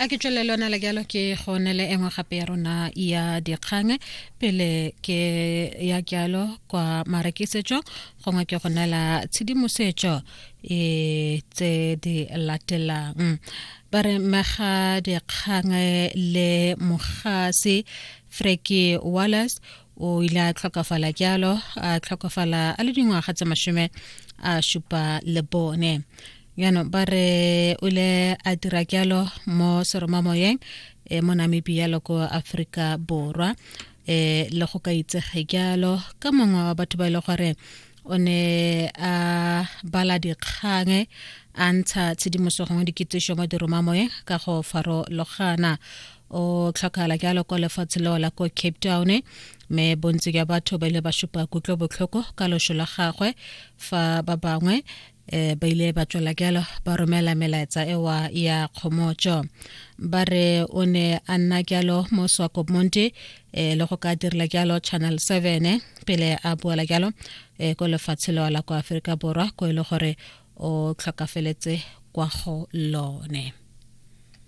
A ke tswelele lona le jalo ke go ne le engwe gape ya rona ya dikgang pele ke ya jalo kwa marekisetso gongwe ke go neela tshedimosetso e tse di latelang. Ba re mega dikgang le mogasi Freki Wallace o ile a tlhokafala jalo, a tlhokafala a le dingwaga tse 74. Jaanong ba re o ile a dira jalo mo seromamoyeng e mo Namibia le ko Aforika Borwa, e le go ka itsege jalo ka mongwe wa batho ba e le gore o ne a bala dikgang, a ntsha tshedimoso gongwe dikitsiso mo diromamoyeng ka go farologana. O tlhokagala jalo kwa lefatshe leo la ko Cape Town, mme bontsi jwa batho ba ile ba supa kutlobotlhoko ka loso la gagwe, fa ba bangwe ba ile ba tswela jalo ba romela melaetsa ewa ya kgomotso. Ba re o ne a nna jalo mo Swakopmund, le go ka direla jalo Channel 7 pele a boela jalo ko lefatshe leo la kwa Aforika Borwa, ko e le gore o tlhokafeletse kwa go lone.